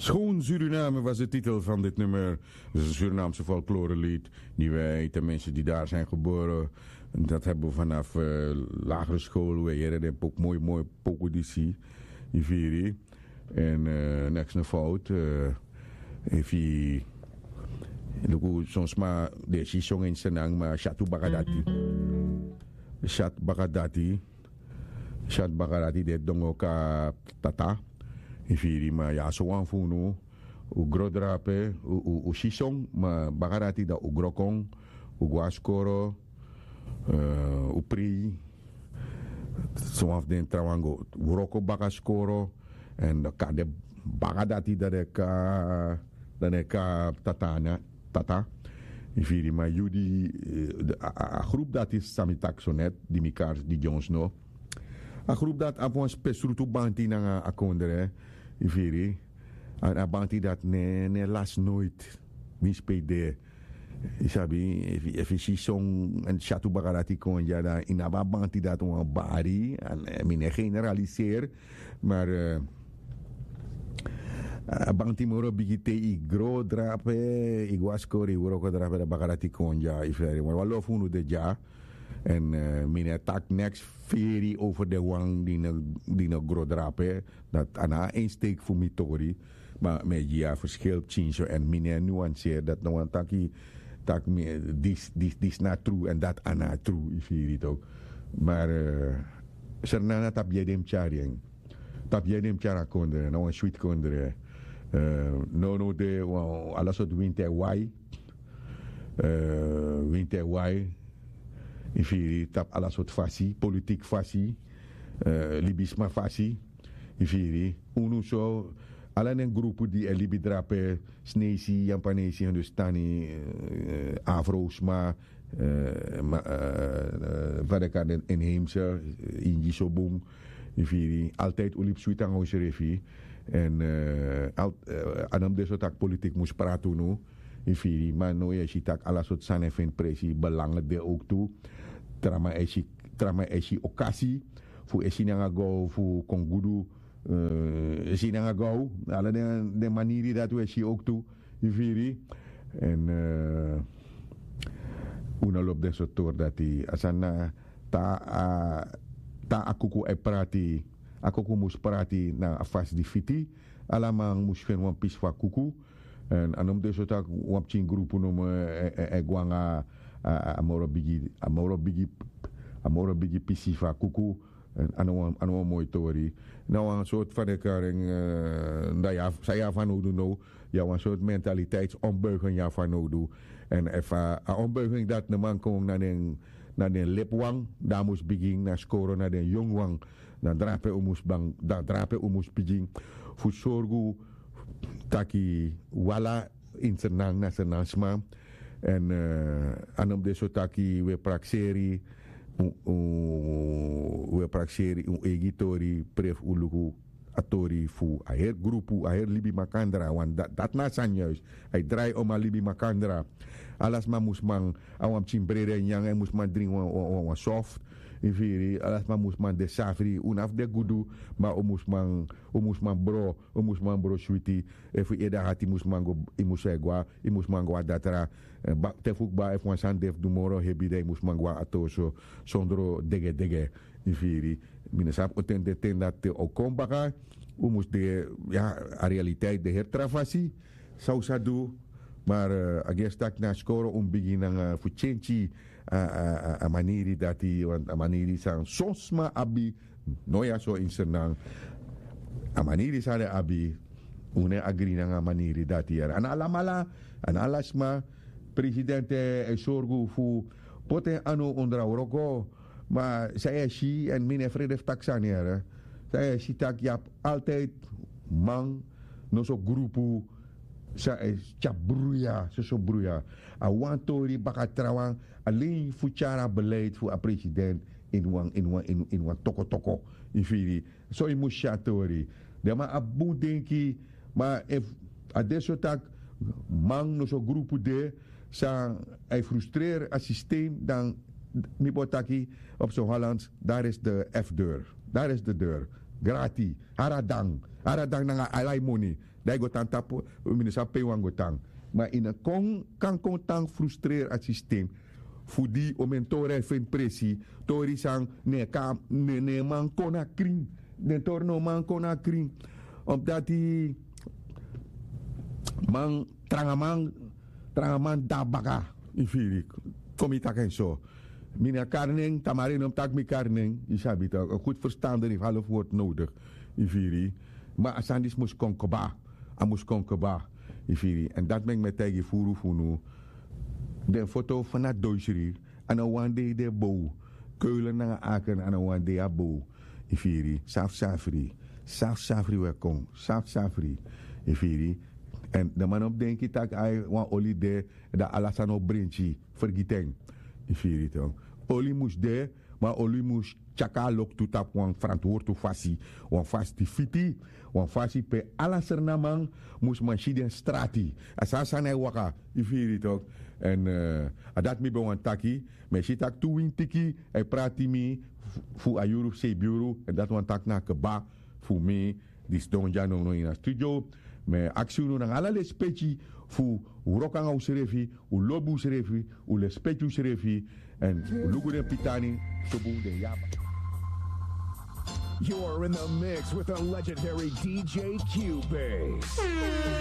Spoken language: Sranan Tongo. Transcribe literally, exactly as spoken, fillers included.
Schoon Suriname was de titel van dit nummer. Het is een Surinaamse folklorelied die wij, tenminste die daar zijn geboren, dat hebben we vanaf eh, lagere school. We heren de pok, mooi, mooi poku disi, Iviri. En eh, niks na fout. Eh, efi luku soms maar de sison in Senang, maar Shatu Bakadati. Shat Bakadati. Shat Bakadati de dongo ka tata. Iviri, maar ja, zo wan fu unu. U grodrape, u, u, u sison, maar Bakadati da u grokon, u gwaskoro, eh, u pri. Soms den trawango, wroko baka skoro. En dan kan de Bakadati dat de ka, dat de ka tatana, tata. Iviri, maar yu di, eh, de- a, a- a groep dat is Sami Taksonet, die mekaar, die Jones no. A groep dat a wan spesrutu banti nanga a kondre, iviri. En a banti dat ne, ne las nooit. Winsi pe de. Yu sabi, efi, efi sison en Shatu Bakadati kon ya dan yu no abi a banti dat wan bari. En eh, mi ne generaliseer. Maar eh, a banti moro bigi te yu gro drape, yu gwaskori, yu wroko drape, dan Bakadati kon ya, yu feri. Maar wan lo fu unu de ya. En eh, mi ne tak niks feri over de wan die ne, die ne gro drape. Dat a na een steek fu mi tori. Maar mi e gi a verschil pikinso en mi ne nuanceer dat no wan taki, tak mi, eh, dis, dis, dis na true en dat a na true, yu firi toch. Maar eh, Sernana tapu yu e den mus tyari en. Tapu yu e den mus tyari a kondre, na wan switi kondre. Eh, no, no de, wan, ala sortu winti e wai. Eh, winti e wai. Yu firi, tapu ala sortu fasi, politiki fasi, eh, libisma fasi. Yu firi, unu so, ala den grupu di e libi drape, Snesi, Yampanesi, Hindustani, eh, Afro-sma, eh, ma- eh, eh, fa den kan den inheemse, eh, Ingi so bun. Yu firi, altijd un libi switi nanga unsrefi. En eh, al- eh, a no mus de so tak' politiki mus prati unu. Yu firi, ma now yu e si tak' ala sortu sani e feni presi, belangen de ook tu. Tra man e si, tra man e si okasi fu e si nanga go fu kon gudu, eh, e si nanga go, ala den, den maniri dati un e si ook tu. Yu firi. En eh, un no lobi den sortu tori dati. A sani na ta a, ta a kuku e prati. A kuku mus prati na a fasi di fiti. Ala man mus feni wan pisi fu a kuku. En a no mus de so tak' wan pikin grupu no mus e, e, e go nanga a, a, a moro bigi, a moro bigi, a moro bigi pisi fu a kuku. En a no wan, a no wan moi tori. Na wan sortu fan de karing, eh, da ya, san ya fanowdu now. Ya wan sortu mentaliteitsombuiging ya fanowdu. En efu a, a ombuiging dati no man kon na den, na den lepi wan, dan a mus bigin na skoro na den yongu wan. Dan drape un mus bang, dan drape un mus bigin fu sorgu taki un ala ini Sranan na Sranan sma. En eh, a no mus de so taki un e prakseri un, un, un e prakseri un eigi tori, prefu un luku a tori fu a heri grupu, a heri libi makandra, want dat, dat na a sani juist. A e drai om a libi makandra. Ala sma mus man abi wan pikin brede nyan, a mus man dringi wan, wan, wan, wan soft. Yu firi, ala sma mus man de safri, un no abi de gudu, ma un mus man, un mus man bro, un mus man bro switi. Efu yu ede hati mus man go, yu mus e go, yu mus man go a datra. Eh, ba- te fu kba efu wan sani de fu du moro hebi, dan yu mus man go a toso sondro degedege. Yu firi, mi no sabi o ten de ten dati o kon baka. Un mus de, ya, a realiteit de heri tra fasi. San un sa du, maar eh, a gesi tak' na skoro un bigin nanga fu kenki a, a, a, a maniri dati, want a maniri san son sma abi, no ya so ini Sranan. A maniri san den abi, un no e agri nanga a maniri dati yere. A no alamala, a no ala sma, presidenti e sorgu fu poti en anu ondro a wroko. Ma san yu e si, en mi no e frede fu taki sani yere. San yu e si tak' yu abi altijd man, noso grupu, san e tyari bruya, soso bruya. A wan tori baka trawan, alen fu tyari a beleid fu a president ini wan, ini wan, ini, ini wan tokotoko. Yu firi, so yu mus si a tori. Den man abi bun denki, ma efu a de so tak' man noso grupu de, san a e frustreri a systeem, dan mi bo taki op so Hollands, daar is de F-deur. Daar is de deur. Grati, hari a dan. Ara danki nanga ala yu moni. Dan yu go tan tapu, mi no sabi pe yu wani go tan. Ma yu no kon kan kon tan frustrer a sistem. Fu di o mentora e feni presi, tori san, ne kan ne ne man kon na krin. Den tori no man kon na krin. Omdati man, tranga man, tranga man de na baka. Yu firi? Kon mi taki en so. Mi na kari nen, tamari no mus taki mi kari nen. Yu sabi tak' en gud ferstander efu half word nodigi. Yu firi? Ma a sani disi mus kon kba. A mus kon kba. Yu firi? Èn dati meki mi e taigi furu fu unu. Den foto fu na doisri, a no wan dei den bow. Keulen nanga aken, a no wan dei a bow. Yu firi? Safsafri. Safsafri wi e kon. Safsafri. Yu firi? Èn den man no mus denki tak' ai wan oli de, dan ala sani o brenki. Fergiti en. Yu firi? Oli mus de, ma oli mus tyari a loktu tapu wan ferantwortu fasi. Wan fasi di fiti. Wan fasi pe ala Sranan man mus man si den strati. A san a sani e waka. Yu firi? Èn a dati mi ben wani taki. Mi e si tak' tu wintiki e prati mi fu a yuru fu seibi yuru, èn dati wani taki na kba fu mi di sidon dya nownow ini a studio. Mi e aksi unu nanga ala lespeki fu wroko nanga usrefi, un lobi usrefi, un lespeki usrefi, èn un luku den pitani, sobu den yaba. You're in the mix with the legendary D J Q-Base.